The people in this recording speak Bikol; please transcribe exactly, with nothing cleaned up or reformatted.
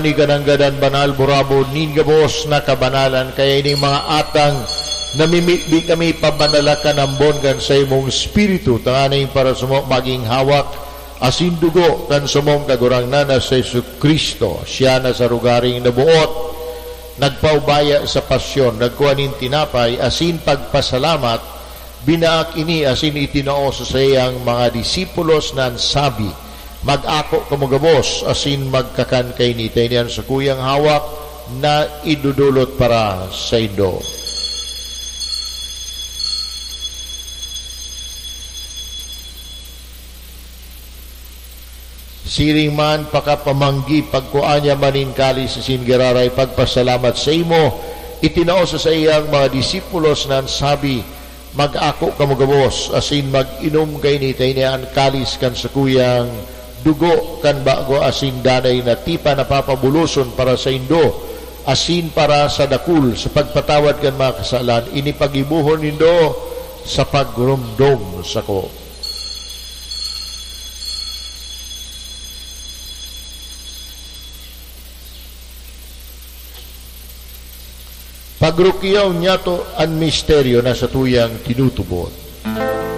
Ni kananggadan banal, burabod nin gabos na kabanalan, kaya ining mga atang namimibi kami, pabanala kan ambon kan saimong Espiritu, tanganing para samo magin hawak asin dugo kan samong Kagurangnan na si Jesu-Cristo. Siya na sa rogaring naboot, nagpaubaya sa pasyon, nagkua nin tinapay asin pagpasalamat, binaak ini asin itinao sa saiyang mga disipulos na an sabi, "Mag-ako kamo gabos asin magkakan kaini, ta ini an sakuyang hawak na idodolot para saindo." Siring man, pakapamanggi, pagkua niya man nin kalis asin giraray pagpasalamat saimo, itinao sa saiyang mga disipulos na an sabi, "Mag-ako kamo gabos asin mag-inom kaini, ta ini an kalis kan sakuyang dugo kan bago asin danay na tipan na papabuloson para saindo asin para sa dakul sa pagpatawad kan mga kasalan. Ini paggibohon nindo sa pagromdom sako." Pagrukyaw niyato an misteryo na satuyang tinutubod.